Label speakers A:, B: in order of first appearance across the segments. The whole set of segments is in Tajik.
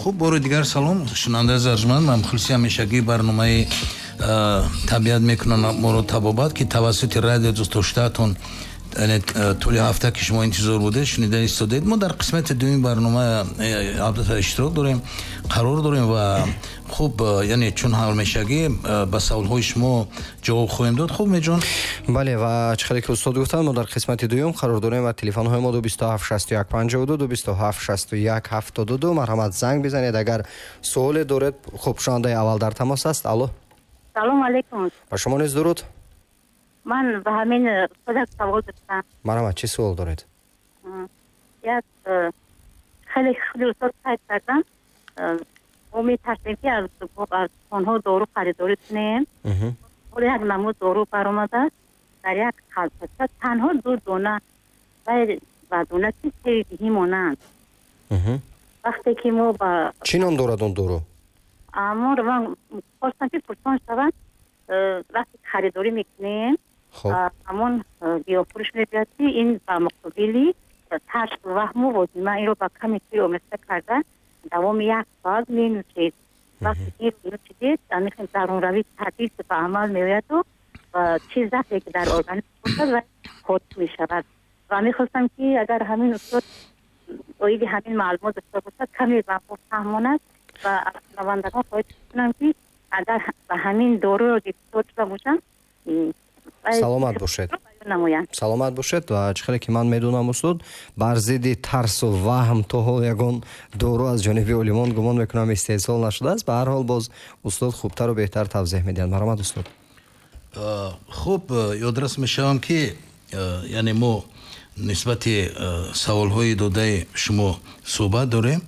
A: Хуб, бори дигар салом, шунавандаи арҷманд ва мухлиси ҳамешагии барномаи «Табиат мекунад моро табобат», ки тавассути радио дӯстдоштаатон, яъне тӯли ҳафта ки шумо интизор будед, шунида истодед. Мо дар қисмати дуюми барнома албатта иштирок дорем, қарор дорем ва хуб, яъне чун ҳамешагӣ ба саволҳои шумо ҷавоб хоҳем дод. Хуб, Меҷон.
B: Бале, ва чӣ хеле ки устод гуфтанд, мо дар қисмати дуюм қарор дорем ва телефонҳои мо 227 61 52, 227 61 72. Марҳамат, занг бизанед, агар суоле доред. Хуб, шунавандаи аввал дар тамос аст. Алло.
C: Салом алейкум.
B: Ба шумо низ дуруд.
C: Ман ба ҳамин устод савол доштам.
B: Марҳамат, чӣ суол доред?
C: Як хеле худи устод қайд кардам, мо метарсем, ки аз дуконҳо дору харидорӣ кунем. Ҳоло як намуд дору баромадааст, дар як халтача танҳо ду дона ва дона ки себи диҳӣ монанд. Вақте ки мо ба
B: Чӣ ном дорад он дору?
C: Аморо ман хостам, ки пурсон шаванд. Вақте харидорӣ мекунем, ҳамон гиёҳфурӯш мегӯяд, ки ин ба муқобили тарс, ваҳму возима, инро ба ками чой омехта карда давоми як соат менӯшед. Вақте ки нӯшидед, ҳамин дарунравӣ табиӣ ба амал меояду ва чиз зафе ки дар организм бошад ва хотим мешавад. Ва мехостам, ки агар ҳамин устод оиди ҳамин маълумот дошта бошад, каме ба мо фаҳмонад ва аз шунавандагон хоҳиш кунам, ки агар ба ҳамин доруро гирифтор шуда бошанд,
B: Саломат бошед, саломат бошед. Ва чӣ хеле ки ман медонам, устод, бар зидди тарсу ваҳм то ҳол ягон дору аз ҷониби олимон, гумон мекунам, истеҳсол нашудааст. Ба ҳар ҳол, боз устод хубтару беҳтар тавзеҳ медиҳанд. Марҳамат, устод.
A: Хуб, ёдрас мешавам, ки яъне мо нисбати саволҳои додаи шумо суҳбат дорем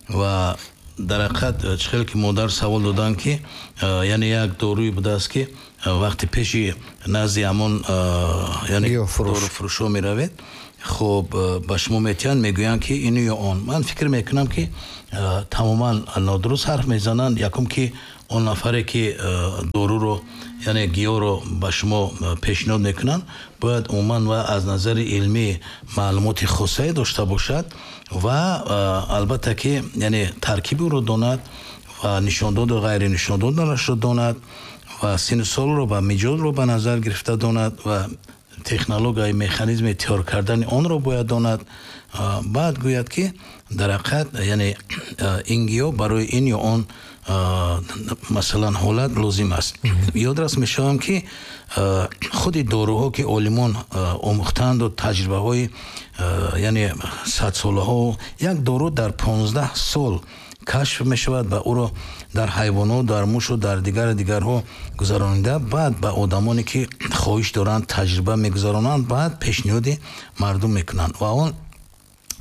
A: ва дар ҳақиқат чӣ хеле ки модар савол доданд, ки яъне як доруе будааст, ки вақти пеши назди ҳамон, яъне доруфурӯшҳо меравед, хуб, ба шумо метиҳанд, мегӯянд, ки ину ё он. Ман фикр мекунам, ки тамоман нодуруст ҳарф мезананд. Якум, ки он нафаре ки доруро, яъне гиёҳро ба шумо пешниҳод мекунанд, бояд умуман ва аз назари илмӣ маълумоти хосае дошта бошад ва албатта ки яъне таркиби ӯро донад ва нишондоду ғайри нишондодарашро донад ва синну солро ва миҷозро ба назар гирифта донад ва технологияи механизми тайёр кардани онро бояд донад. Баъд гӯяд, ки дар ҳақиқат яъне ин гиёҳ барои ин ё он, масалан, ҳолат лозим аст. Ёдрас мешавам, ки худи доруҳо, ки олимон омӯхтаанду таҷрибаҳои яъне садсолаҳо, як дору дар 15 сол кашф мешавад ва ӯро дар ҳайвонот, дар мушу дар дигару дигарҳо гузаронида, баъд ба одамоне ки хоҳиш доранд, таҷриба мегузаронанд, баъд пешниҳоди мардум мекунанд. Ва он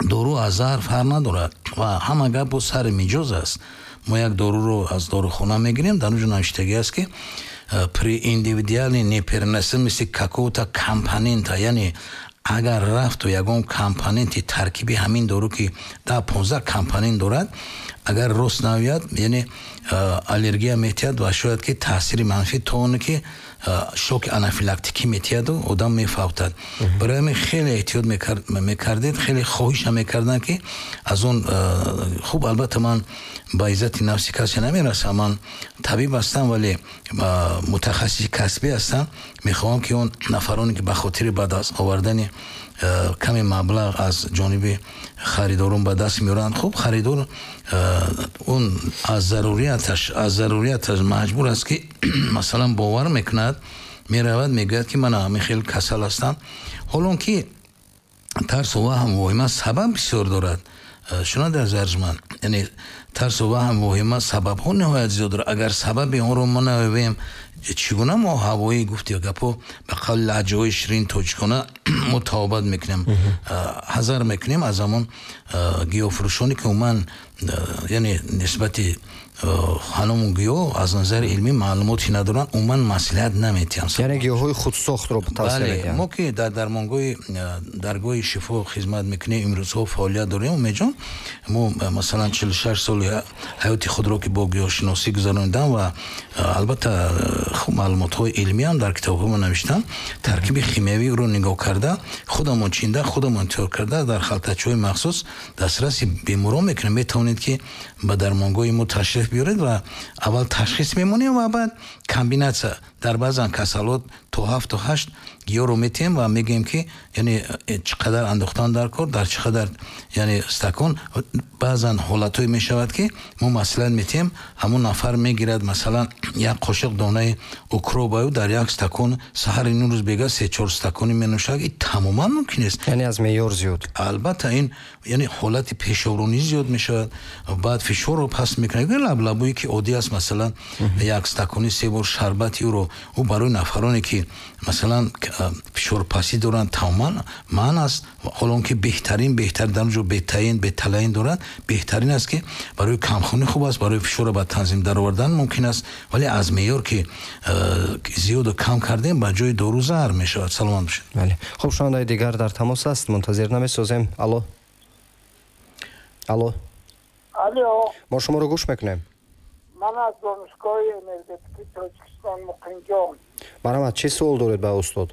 A: дору аз заҳр фарқ надорад ва ҳама гап бо сари миҷоз аст. Мо як доруро аз дорухона мегирем, дар он ҷо навиштагӣ аст, ки при индивидуальной непереносимости какого-то компонента, яъне агар рафту ягон компоненти таркиби ҳамин дору, ки 10-15 компонент дорад, агар рост наояд, яъне аллергия метиҳад ва шояд ки таъсири манфӣ то оне ки шоки анафилактикӣ метиҳаду одам мефавтад. Барои ҳамин хеле эҳтиёт мекардед, хеле хоҳиша мекарданд, ки аз он. Хуб, албатта, ман ба иззати нафси касе намерасам, ман табиб ҳастам, вале мутахассиси касбӣ ҳастам. Мехоҳам, ки он нафароне ки ба хотири ба даст овардани каме маблағ аз ҷониби харидорон ба даст меоранд, хуб, харидор он аз зарурияташ маҷбур аст, ки масалан бовар мекунад, меравад, мегӯяд, ки ман ҳамин хел касал ҳастам. Ҳолон ки тарсу ваҳм, воҳима сабаб бисёр дорад. Шунавандаи арҷманд, яъне тарсу ваҳм, воҳима сабабҳо ниҳоят зиёд дорад. Агар сабаби онро мо наёбем, чӣ гуна мо ҳавоӣ гуфти гапо, ба қавли лаҳҷаҳои ширини тоҷикона, мо табобат мекунем? Ҳазар мекунем аз ҳамон гиёҳфурӯшоне, ки умуман яъне нисбати ҳаному гиёҳ аз назари илмӣ маълумоте надоранд, умуман маслиҳат наметиҳанд.
B: Яъне гиёҳҳои худсохтро тавсия медиҳанд.
A: Мо ки дар дармонгоҳи даргоҳи шифо хизмат мекунем, имрӯзҳо фаъолият дорем, Умедҷон, мо масалан 46 соли ҳаёти худро ки бо гиёҳшиносӣ гузаронидам ва албатта Хуб, маълумотҳои илмӣ ҳам дар китобҳо мо навиштам, таркиби химиявии ӯро нигоҳ карда, худамон чинда, худамон тайёр карда, дар халтачаҳои махсус дастраси беморон мекунем. Метавонед, ки ба дармонгоҳи мо ташриф биёред ва аввал ташхис мемонем ва баъд комбинатсия. Дар баъзан касалот то ҳафту ҳашт гиёҳро метиҳем ва мегӯем, ки яъне чӣ қадар андохтан дар кор, дар чӣ қадар, яъне стакон. Баъзан ҳолатҳое мешавад, ки мо маслиҳат метиҳем, ҳамон нафар мегирад, масалан, як қошиқ донаи укроп аю дар як стакон саҳари нӯ рӯз бега се-чор стакони менӯшад. Ин тамоман мумкин нест.
B: Яъне аз меъёр зиёд.
A: Албатта, ин яъне ҳолати пешобронӣ зиёд мешавад, баъд фишорро паст мекунад. Лаблабӯе ки оддӣ аст, масалан, як стакони се бор шарбати ӯро, ӯ барои нафароне, ки масалан фишорпастӣ доранд, тамоман манъ аст. Ҳоло он ки беҳтарин, беҳтар дар ҷо бетаин, беталаин дорад, беҳтарин аст, ки барои камхунӣ хуб аст, барои фишорро ба танзим даровардан мумкин аст, вале аз меъёр ки зиёду кам кардем, ба ҷои дору заҳр мешавад. Саломат бошед.
B: Бале, хуб, шунавандаи дигар дар тамос аст, мунтазир намесозем. Алло, алло.
D: Алло.
B: Мо шуморо гӯш мекунем.
D: Ман аз Донишгоҳи энергетикии Тоҷикистон, Муқимҷон.
B: Марҳамат, чӣ суол доред ба устод?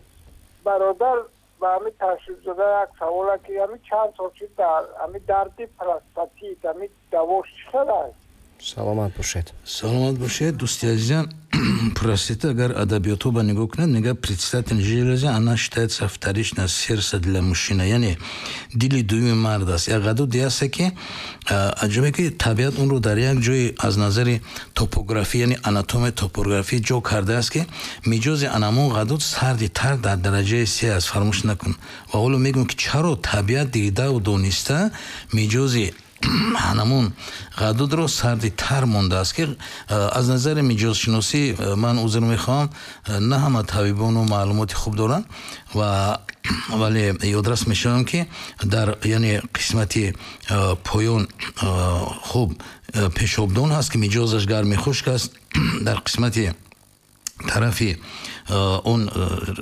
D: Бародар, ба ҳами ташрифзода як савола, ки ҳами чанд сол шуд дар ҳами дарди простатит, ҳами давош чӣ хел аст?
B: Саломат бошед.
A: Саломат бошед, дӯсти азизам. Простата, агар адабиётҳо ба нигоҳ кунед, мега предстательная железа, она считается вторичная сердце для мужчины, яъне дили дуюми мард аст. Як ғадуде аст, ки аҷибе, ки табиат онро дар як ҷои аз назари топографӣ, яъне анатомия, топографӣ ҷо кардааст, ки миҷози анамон ғадуд сарди тар дар дараҷаи се аст. Фаромӯш накун. Ва ҳоло мегӯем, ки чаро табиат дидаву дониста миҷози ҳанамун ғадудро сарди тар мондааст, ки аз назари миҷозшиносӣ, ман узр мехоҳам, на ҳама табибону маълумоти хуб доранд, ва вале ёдрас мешавам, ки дар яъне қисмати поён, хуб, пешобдон ҳаст, ки миҷозаш гарми хушк аст. Дар қисмати тарафи он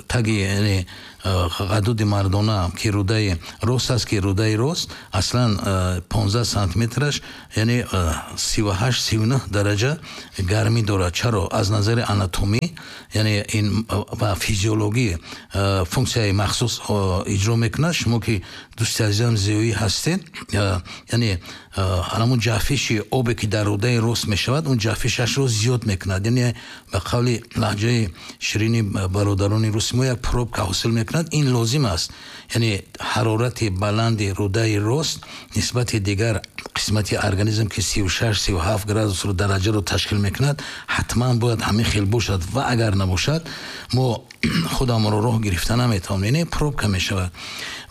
A: таги, яъне ғадуди мардона, ки рӯдаи рост аст, ки рӯдаи рост аслан 15 сантиметраш, яъне 38, 39 дараҷа гармӣ дорад. Чаро? Аз назари анатомӣ, яъне ин ва физиологӣ функсияи махсус иҷро мекунад. Шумо ки, дӯсти азизам, зиёӣ ҳастед, яъне ҳамун ҷафиши обе, ки дар рӯдаи рост мешавад, он ҷафишашро зиёд мекунад, яъне ба қавли лаҳҷаи ширини бародарони руси мо, як пробка ҳосил мекунад. Ин лозим аст, яъне ҳарорати баланди рӯдаи рост нисбати дигар қисмати организм, ки 36, 37 градусро дараҷаро ташкил мекунад, ҳатман бояд ҳамин хел бошад. Ва агар набошад, мо худамонро роҳ гирифта наметавонем, яъне пробка мешавад.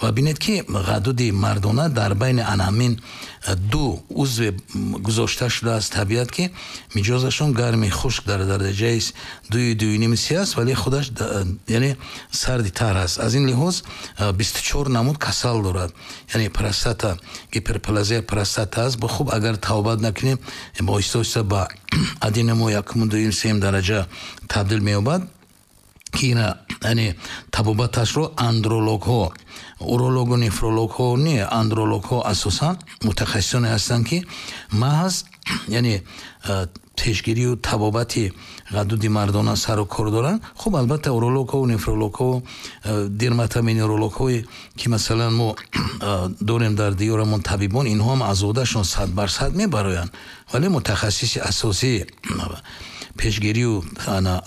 A: Ва бинед, ки ғадуди мардона дар байни ана ҳамин ду узве гузошта шудааст табиат, ки миҷозашон гарми хушк дар дараҷаи дуи, дуюними се аст, вале худаш яъне сарди тар аст. Аз ин лиҳоз 24 намуд касал дорад, яъне простата, гиперплазия простата аст. Хуб, агар табобат накунем, оҳиста оҳиста ба аденома якуму, дуюм, сеюм дараҷа табдил меёбад, ки ина яъне табобаташро андрологҳо, урологу нефрологҳо не, андрологҳо асосан мутахассисоне ҳастанд, ки маҳз яъне пешгирию табобати ғадуди мардона сару кор доранд. Хуб, албатта, урологҳо, нефрологҳо, дерматовенерологҳое, ки масалан мо дорем дар диёрамон табибон, инҳо ҳам аз уҳдашон 100% мебароянд, вале мутахассиси асосии пешгирию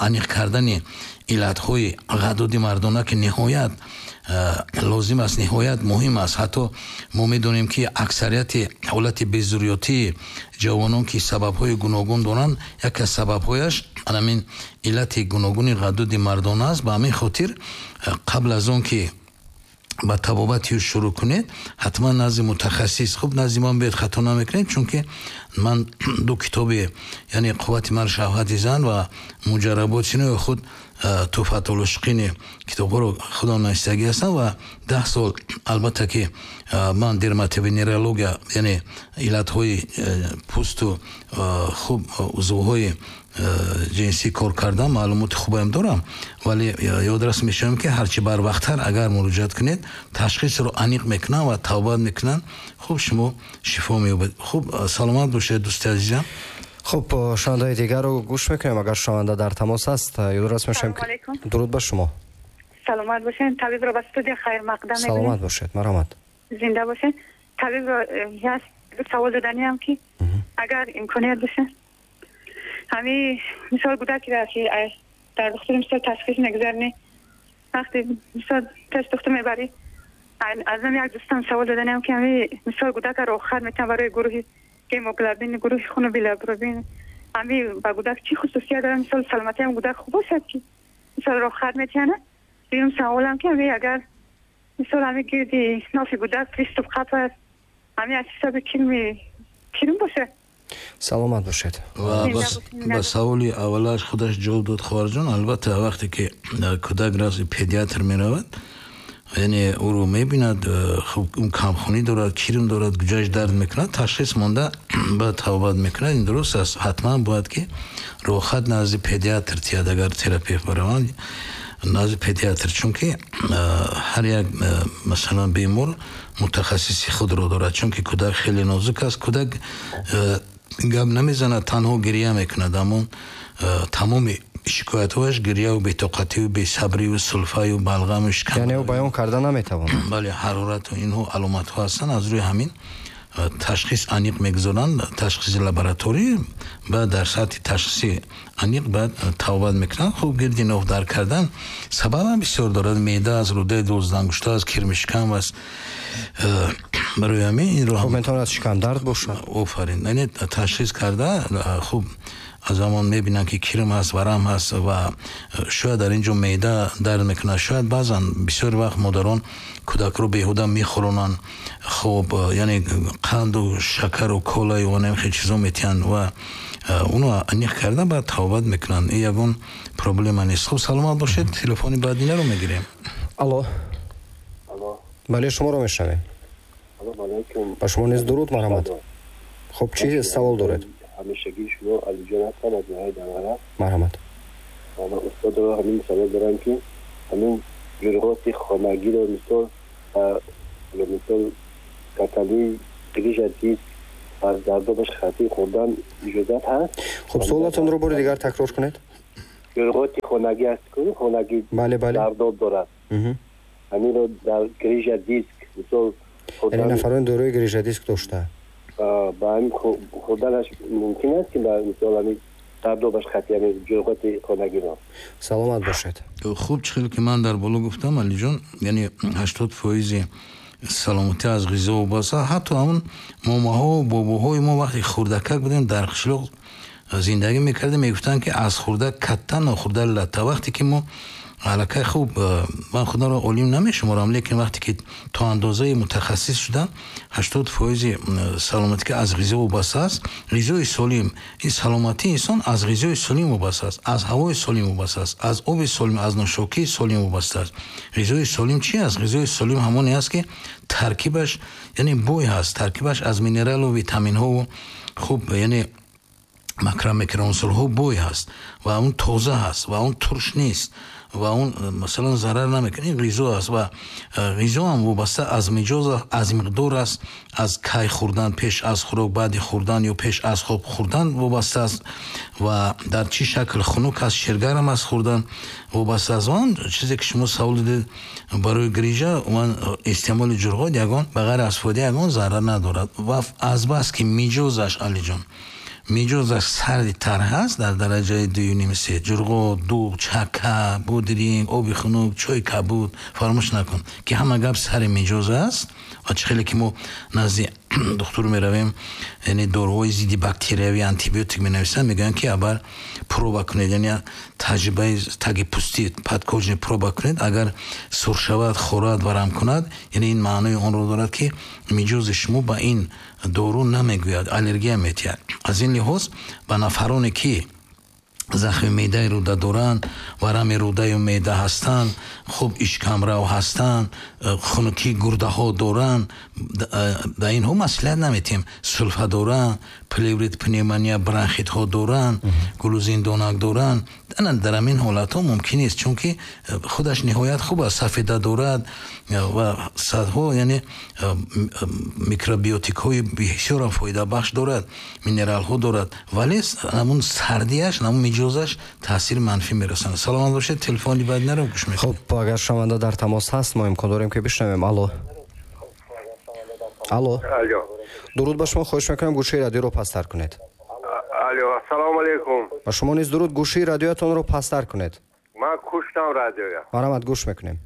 A: аниқ кардани иллатҳои ғадуди мардона, ки ниҳоят лозим аст, ниҳоят муҳим аст. Ҳатто мо медонем, ки аксарияти ҳолати безурётии ҷавонон, ки сабабҳои гуногун доранд, яке аз сабабҳояш анамин иллати гуногуни ғадуди мардона аст. Ба ҳамин хотир, қабл аз он ки ба табобати ӯ шурӯъ кунед, ҳатман назди мутахассис, хуб, назди ман биёед, хато намекунед, чунки ман ду китоби, яъне «Қуввати мард, шаҳвати зан» ва «Муҷарработи худ Туҳфатулошиқини» китобҳоро худам нависагӣ ҳастам ва 10 сол, албатта, ки ман дерматовенерология, яъне иллатҳои пӯсту, хуб, узвҳои ҷинсӣ кор кардам, маълумоти хубаам дорам. Вале ёдрас мешавам, ки ҳарчи барвақттар агар муроҷиат кунед, ташхисро аниқ мекунанд ва табобат мекунанд, хуб, шумо шифо меёбед. Хуб, саломат бошед, дӯсти азизам.
B: Хуб, шунавандаи дигарро гӯш мекунем. Агар шунаванда дар тамос аст, ёдрас мешавем. Дуруд ба шумо.
E: Саломат бошед. Табибро ба студия хайрмақдам мегӯем.
B: Саломат бошед, марҳамат.
E: Зинда бошед. Табибро як савол доданиам ки агар имконият бошад, ҳамин мисол кӯдакеро ки дар духтур мисол ташхис мегузарнӣ, вақте мисол пеш духтур мебарӣ, аз ман як дӯстам савол доданиам ки ҳамин мисол кӯдакро рохат метавон барои гурӯҳи гемоглобин, гурӯҳи хун билирубин, ҳамин ба кӯдак чӣ хусусият дорад, мисол саломатии ҳам кӯдак хуб бошад ки мисол рохат метиҳанд. Дуюм саволам ки ҳамин агар мисол ҳамин гирди нофи кӯдак приступ қап аст, ҳамин аз ҳисоби кирм бошад.
B: Саломат бошед.
A: Ва ба саволи аввалаш худаш ҷавоб дод хоҳарҷон. Албатта вақте ки кӯдак назди педиатр меравад, яъне ӯро мебинад, хуб камхунӣ дорад, кирм дорад, куҷояш дард мекунад, ташхис монда баъд табобат мекунад. Ин дуруст аст. Ҳатман бояд ки рохат назди педиатр тиҳад, агар терапевт бараванд назди педиатр, чунки ҳар як масалан бемор мутахассиси худро дорад, чунки кӯдак хеле нозук аст. Кӯдак гап намезанад, танҳо гиря мекунад, аммо тамоми шикоятҳояш гиряву бетоқативу бесабриву сулфаю балғаму шикам,
B: яъне ӯ баён карда наметавонад.
A: Бале, ҳарорату инҳо аломатҳо ҳастанд. Аз рӯи ҳамин ташхис аниқ мегузоранд, ташхиси лабораторӣ, баъд дар сатҳи ташхиси аниқ баъд табобат мекунанд. Хуб, гирди ноф дард кардан сабабам бисёр дорад. Меъда аст, рӯдаи дувоздаҳангушта аст, кирми шикам аст. Барои ҳамин инро
B: хуб метавонад шикамдард бошад.
A: Офарин. Яъне ташхис карда хуб аз ҳамон мебинанд ки кирм ҳаст, варам ҳаст ва шояд дар ин ҷо меъда дард мекунад. Шояд баъзан бисёр вақт модарон кӯдакро беҳуда мехӯронанд, хуб яъне қанду шакару колаю ва хел чизо метиҳанд ва онро аниқ карда баъд табобат мекунанд. Ин ягон проблема нест. Хуб, саломат бошед. Телефони баъдинаро мегирем.
B: Алло. Бале, шуморо мешунавем. Ба шумо низ дуруд, марҳамат. Хуб, чӣ савол доред?
F: Ҳамешагии шумо Алиҷон ҳастам аз ноҳияи Данғара.
B: Марҳамат.
F: Ман устодро ҳамин савол дорам ки ҳамин ҷурғоти хонагиро мисол мисол катали грижа диск аз зардобаш хати хӯрдан иҷозат ҳаст?
B: Хуб, суолатонро бори дигар такрор кунед.
F: Ҷурғоти хонагӣ аст, хонагӣ зардоб дорад, ҳаминро дар грижа диск мисол,
B: яъне нафарони дорои грижа диск дошта
F: ба ҳамин хӯрданаш мумкин аст ки мисол ҳамин зардобаш хати ҳамин ҷурғоти хонагиро?
B: Саломат бошед.
A: Хуб, чӣ хеле ки ман дар боло гуфтам, Алиҷон, яъне 80% саломатӣ аз ғизо вобаста. Ҳатто ҳамон момаҳо бобоҳои мо вақте хурдакак будем дар қишлоқ зиндагӣ мекардем, мегуфтанд ки аз хурда катта нохӯрда латта. Вақте ки мо аллакай хуб, ман худро олим намешуморам, лекин вақте ки то андозаи мутахассис шудам, 80% саломатӣ ки аз ғизо вобаста аст. Ғизои солим, ин саломатии инсон аз ғизои солим вобаста аст, аз ҳавои солим вобаста аст, аз оби солим, аз нӯшокии солим вобаста аст. Ғизои солим чи аст? Ғизои солим ҳамоне аст ки таркибаш яъне бой ҳаст, таркибаш аз минералу витаминҳову хуб яъне макромикроунсурҳо бой ҳаст ва он тоза ҳаст ва он турш нест ва он масалан зарар намекунад. Ин ғизо аст ва ғизо ҳам вобаста аз миҷоз, аз миқдор аст, аз кай хӯрдан, пеш аз хӯрок, баъди хӯрдан ё пеш аз хоб хӯрдан вобаста аст ва дар чӣ шакл хунук аст, ширгарам аст хӯрдан вобаста аст. Он чизе ки шумо савол додед барои грижа, он истеъмоли ҷурғот ягон ба ғайр аз фоида ягон зарар надорад ва азбас ки миҷозаш, Алиҷон, миҷозаш сарди тар ҳаст дар дараҷаи 2.5-3, ҷурғот, дуғ, чака, будринг, оби хунук, чойи кабуд, фаромӯш накун ки ҳама гап сари миҷоз аст. Ва чӣ хеле ки мо назди духтур меравем, яъне доруҳои зидди бактериявӣ, антибиотик менависанд, мегӯянд ки аввал проба кунед, яъне таҷрибаи таги пӯстӣ подкожный проба кунед, агар сурх шавад, хорад, варам кунад, яъне ин маънои онро дорад ки миҷози шумо ба ин дору намегӯяд, аллергия метиҳад. Аз ин лиҳоз ба нафароне ки Захми меъдаи рӯда доранд, варами рӯдаю меъда ҳастанд, хуб ишкамрав ҳастанд, хунукии гурдаҳо доранд, ба инҳо маслиҳат наметиҳем. Сулфа доранд, плеврит, пневмония, бронхитҳо доранд, гулӯзиндонак доранд. Дар ҳамин ҳолатҳо мумкин нест, чунки худаш ниҳоят хуб аст, сафеда дорад ва садҳо, яъне микробиотикҳои бисёрам фоидабахш дорад, минералҳо дорад, вале ҳамун сардиаш, ҳамун миҷозаш таъсири манфӣ мерасонад. Саломат бошед, телефони баъд наро гӯш мекунем.
B: Хуб, агар шунаванда дар тамос ҳаст, мо имкон дорем, ки бишнавем. Алло, алло, дуруд ба шумо. Хоҳиш мекунам, гӯшаи радиоро пасттар кунед.
G: Алло, ассалому алайкум.
B: Ба шумо низ дуруд. Гӯшаи радиоятонро пасттар кунед.
G: Ман куштам радиоя.
B: Марҳамат, гӯш мекунем.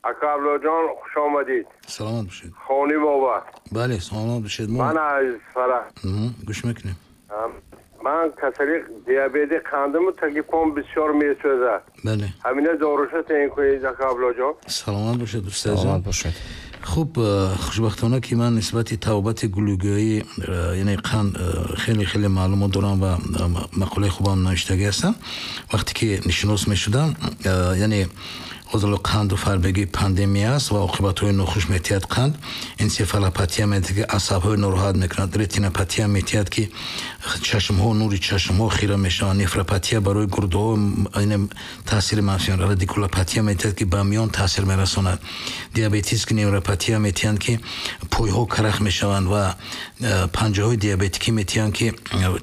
G: Ака Абдуллоҷон, хуш омадид.
A: Саломат бошед.
G: Хони бобо.
A: Бале, саломат бошед.
G: Ман аз Фарах.
A: Гӯш мекунем.
G: Ман касали диабети қандиму таги пом бисёр месӯзад.
A: Бале.
G: Ҳамина доруша таъин кунед, ака Абдуллоҷон.
A: Саломат бошед, дӯсти азиз.
B: Саломат бошед.
A: Хуб, хушбахтона ки ман нисбати табобати гулӯгӯӣ, яъне қанд, хеле хеле маълумот дорам ва мақолаи хубам навиштагӣ ҳастам. Вақте ки нишинос мешудам, яъне ҳозир қанду фарбегӣ пандемия аст ва оқибатҳои нохуш метиҳад. Қанд энсефалопатия метиҳад, ки асабҳои нороҳат мекунад, ретинопатия метиҳад, ки чашмҳо, нури чашмҳо хира мешаванд, нефропатия барои гурдаҳо таъсири манфӣ, радикулопатия метиҳад, ки ба миён таъсир мерасонад, диабетический невропатия метиҳанд, ки пойҳо карах мешаванд, ва панҷаҳои диабетикӣ метиҳанд, ки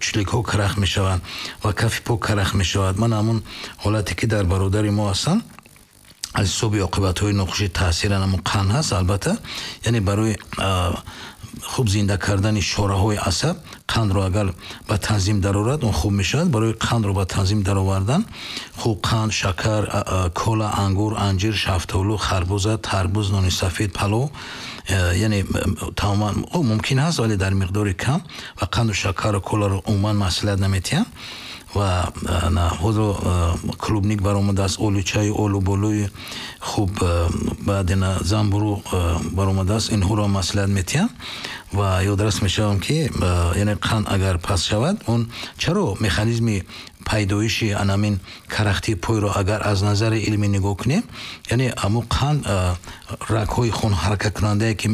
A: чиликҳо карах мешаванд ва кафи по карах мешавад. Ман ҳамун ҳолате ки дар бародари мо ҳастанд, аз ҳисоби оқибатҳои нохуши таъсир ҳамун қанд ҳаст. Албатта, яъне барои хуб зинда кардани шораҳои асаб қандро агар ба танзим дарорад, он хуб мешавад. Барои қандро ба танзим даровардан хуб қанд, шакар, кола, ангур, анҷир, шафтолу, харбуза, тарбуз, нони сафед, палов, яъне тамоман мумкин ҳаст, вале дар миқдори кам, ва қанду шакару коларо умуман маслиҳат наметиҳанд. Ва ҳозир клубник баромадааст, олучаю олуболӯи хуб, баъд замбуру баромадааст, инҳоро маслиҳат метиҳам. Ва ёдрас мешавам, ки яъне қанд агар паст шавад, он чаро механизми пайдоиши анамин карахтии пойро агар аз назари илмӣ нигоҳ кунем, яъне ҳамун қанд рагҳои хун ҳаракаткунандае, ки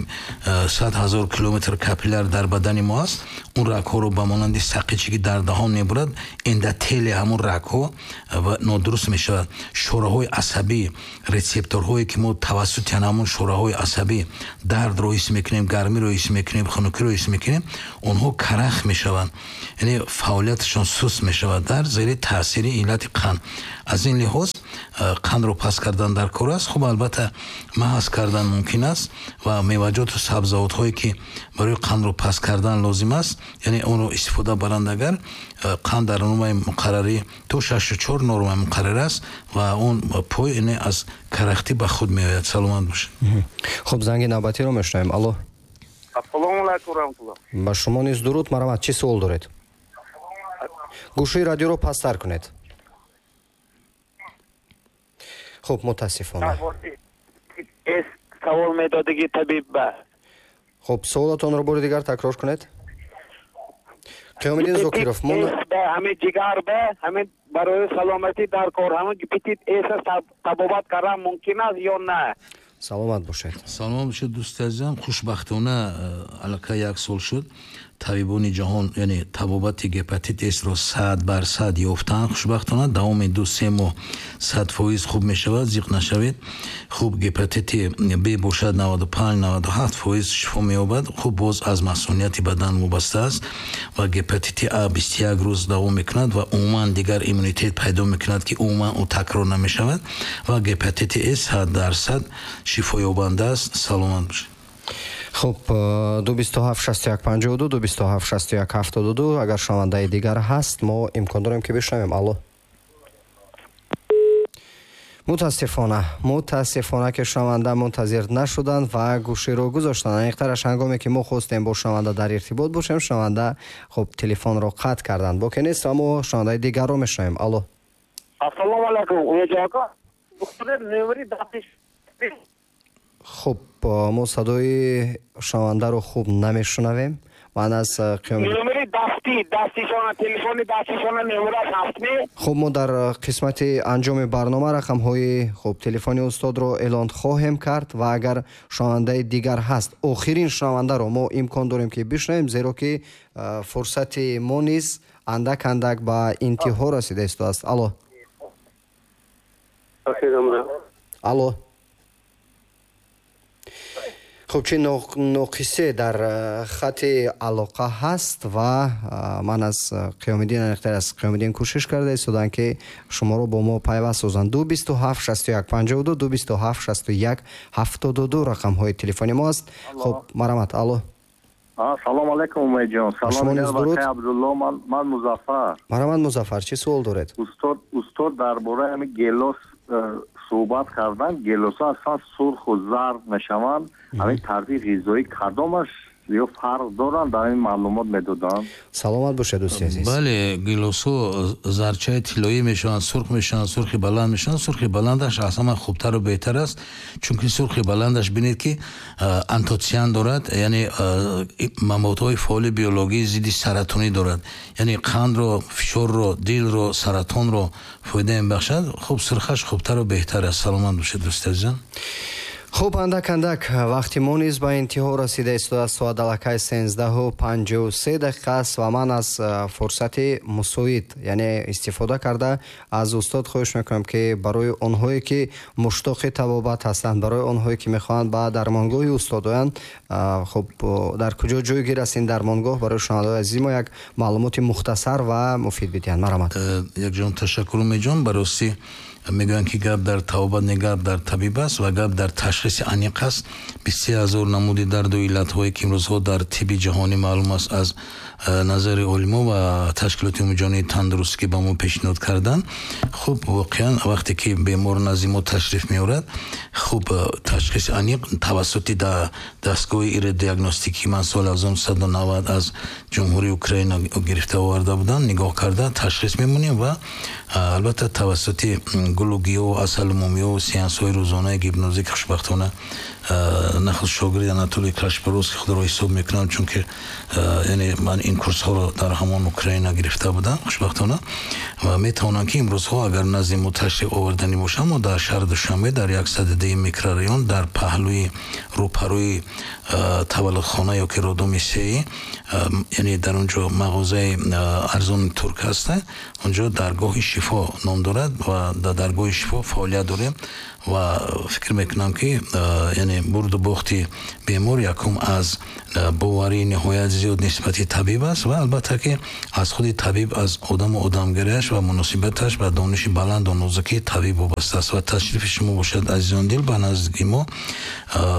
A: 100 000 километр капилляр дар бадани мо аст, он рагҳоро ба монанди сақиче, ки дар даҳон мебурад, эндотели ҳамун рагҳо нодуруст мешавад. Шораҳои асабӣ, рецепторҳое, ки мо тавассути ҳамун шораҳои асабӣ дардро ҳис мекунем, гармиро ҳис мекунем, хунукиро ҳис мекунем, онҳо карах мешаванд, яъне фаъолияташон суст мешавад дар зери таъсири иллати қанд. Аз ин лиҳоз қандро паст кардан дар кор аст. Хуб, албатта, маҳз кардан мумкин аст ва меваҷоту сабзавотҳое, ки барои қандро паст кардан лозим аст, яъне онро истифода баранд, агар қанд дар нормаи муқаррарӣ то 6,4 нормаи муқаррар аст, ва он пой, яъне, аз карахтӣ ба худ меояд. Саломат бошед.
B: Хуб, занги навбатиро мешунавем. Алло.
D: Ассалому алайкум, раҳматулло.
B: Ба шумо низ дуруд. Марҳамат, чӣ суол доред? Гӯшаи радиоро пасттар кунед. Хуб, мутаассифона.
D: Савол медодиги табиб ба.
B: Хуб, суолатонро бори дигар такрор кунед. Қиёмиддин Зокиров.
D: Ҳамин ҷигар ба ҳамин барои саломатӣ дар кор ҳамин гепатит С табобат кардан мумкин аст ё на?
B: Саломат бошед.
A: Саломат бошед, дӯсти азизам. Хушбахтона, аллакай як сол шуд, табибони ҷаҳон, яъне, табобати гепатит Сро 100% ёфтанд. Хушбахтона, давоми 2-3 моҳ 100% хуб мешавад, зиқ нашавед. Хуб, гепатити Б бошад, 95-97% шифо меёбад. Хуб, боз аз масунияти бадан вобаста аст. Ва гепатити А 21 рӯз давом мекунад ва умуман дигар иммунитет пайдо мекунад, ки умуман ӯ такрор намешавад. Ва гепатити С 100% шифоёбанда аст. Саломат бошед.
B: Хуб, 227 61 52, 227 61 72. Агар шунавандаи дигар ҳаст, мо имкон дорем, ки бишнавем. Алло. Мутаассифона, мутаассифона, ки шунаванда мунтазир нашуданд ва гӯширо гузоштанд. Аниқтараш, ҳангоме ки мо хостем бо шунаванда дар иртибот бошем, шунаванда, хуб, телефонро қатъ карданд. Боке нест ва мо шунавандаи дигарро мешунавем. Алло.
D: Ассалому алайкум, ака.
B: Хуб, мо садои шунавандаро хуб намешунавем. Ман аз
H: номери дастишона, телефони дастишона номераш ҳаст ми?
B: Хуб, мо дар қисмати анҷоми барнома рақамҳои хуб телефони устодро эълон хоҳем кард ва агар шунавандаи дигар ҳаст, охирин шунавандаро мо имкон дорем ки бишнавем, зеро ки фурсати мо низ андак андак ба интиҳо расида истодааст. Алло. Алло. Хуб, чи ноқисе дар хати алоқа ҳаст ва ман аз Қиёмиддин, аниқтар аз Қиёмиддин кӯшиш карда истодам ки шуморо бо мо пайваст созанд. 227 61 52, 227 61 72 рақамҳои телефони мо аст. Хуб, марҳамат. Алло.
I: Салом алейкум, Умедҷон. Салом Абдулло, ман Музаффар.
B: Марҳамат, Музаффар, чӣ суол доред?
I: Устод дар бораи ҳамин гелос суҳбат кардан. Гелосҳо аслан сурху зард мешаванд. Ҳамин тарзи ғизоӣ кадомаш ё фарқ доранд? Дар ин маълумот медоданд.
B: Саломат бошед, дӯсти азиз.
A: Бале, гелосҳо зарчаи тиллоӣ мешаванд, сурх мешаванд, сурхи баланд мешаванд. Сурхи баландаш аз ҳама хубтару беҳтар аст, чунки сурхи баландаш бинед ки антоциан дорад, яъне маводҳои фаъоли биологии зидди саратонӣ дорад, яъне қандро, фишорро, дилро, саратонро фоида мебахшад. Хуб, сурхаш хубтару беҳтар аст. Саломат бошед, дӯсти азизам.
B: Хуб, андак андак вақти мо низ ба интиҳо расида истодааст. Соат аллакай 13:53 дақиқа аст ва ман аз фурсати мусоид, яъне истифода карда, аз устод хоҳиш мекунам ки барои онҳое ки муштоқи табобат ҳастанд, барои онҳое ки мехоҳанд ба дармонгоҳи устод оянд, хуб, дар куҷо ҷойгир аст ин дармонгоҳ, барои шунавандаҳои азизи мо як маълумоти мухтасар ва муфид бидиҳанд. Марҳамат.
A: Якҷон ташаккур, Умедҷон. Барости мегӯянд ки гап дар табобат не, гап дар табиб аст ва гап дар ташхиси аниқ аст. 23,000 намуди дарду иллатҳое ки имрӯзҳо дар тибби ҷаҳонӣ маълум аст аз назари олимо ва ташкилоти умумиҷаҳонии тандурустӣ ки ба мо пешниҳод карданд. Хуб, воқеан вақте ки бемор назди мо ташриф меорад, хуб, ташхиси аниқ тавассути дастгоҳи иродиагностикӣ ман соли 1990 аз Ҷумҳурии Украина гирифта оварда будам, нигоҳ карда ташхис мемонем ва албатта тавассути гулу гиёҳ, асалу мумиё, сеансҳои рӯзонаи гипнозӣ ки хушбахтона нахуст шогирди Анатолий Кашпаровский худро ҳисоб мекунам, чунки яъне ман ин курсҳоро дар ҳамон Украина гирифта будам хушбахтона, ва метавонам ки имрӯзҳо агар назди мо ташриф оварданӣ бошам, мо дар шаҳри Душанбе дар 102 микрорайон дар паҳлӯи рӯпарӯи таваллудхона ё ки роддоми сеи, яъне дар он ҷо мағозаи арзони турк ҳаст, он ҷо даргоҳи шифо ном дорад ва дар даргоҳи шифо фаъолият дорем ва фикр мекунам ки яъне бурду бохти бемор якум аз боварии ниҳоят зиёд нисбати табиб аст ва албатта ки аз худи табиб, аз одаму одамгариаш ва муносибаташ ба дониши баланду нозукии табиб вобаста аст. Ва ташрифи шумо бошад, азизон дил, ба наздики мо,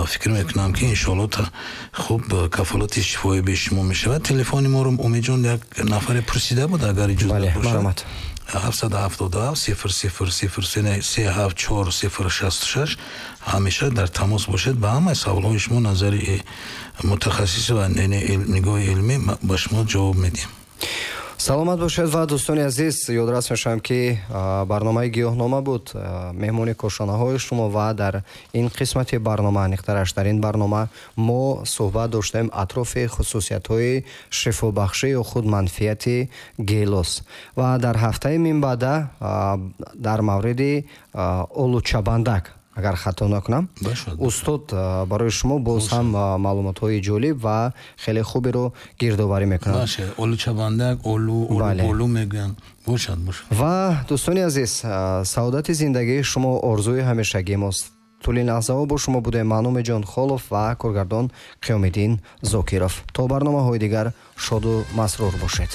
A: фикр мекунам ки иншоалло хуб кафолати шифоӣ бе шумо мешавад. Телефони моро, Умедҷон, як нафаре пурсида буд, агар иҷозат бошад. 777 00 03 74 066 ҳамеша дар тамос бошед. Ба ҳамаи саволҳои шумо назари мутахассис ва нигоҳи илмӣ ба шумо ҷавоб медиҳем.
B: Саломат бошед ва дӯстони азиз, ёдрас мешавам ки барномаи гиёҳнома буд меҳмони кошонаҳои шумо ва дар ин қисмати барнома, аниқтараш дар ин барнома мо суҳбат доштем атрофи хусусиятҳои шифобахшӣ ё худ манфиати гелос ва дар ҳафтаи минбаъда дар мавриди олучабандак, агар хато накунам, устод барои шумо боз ҳам маълумотҳои ҷолиб ва хеле хуберо гирдоварӣ мекунад.
A: Олучабандак, олу, олу мегӯянд. Бошад, бошад.
B: Ва дӯстони азиз, саодати зиндагии шумо орзуи ҳамешагии мост. Тӯли лаҳзаҳо бо шумо будем ман Умедҷон Холов ва коргардон Қиёмиддин Зокиров. То барномаҳои дигар шоду масрур бошед.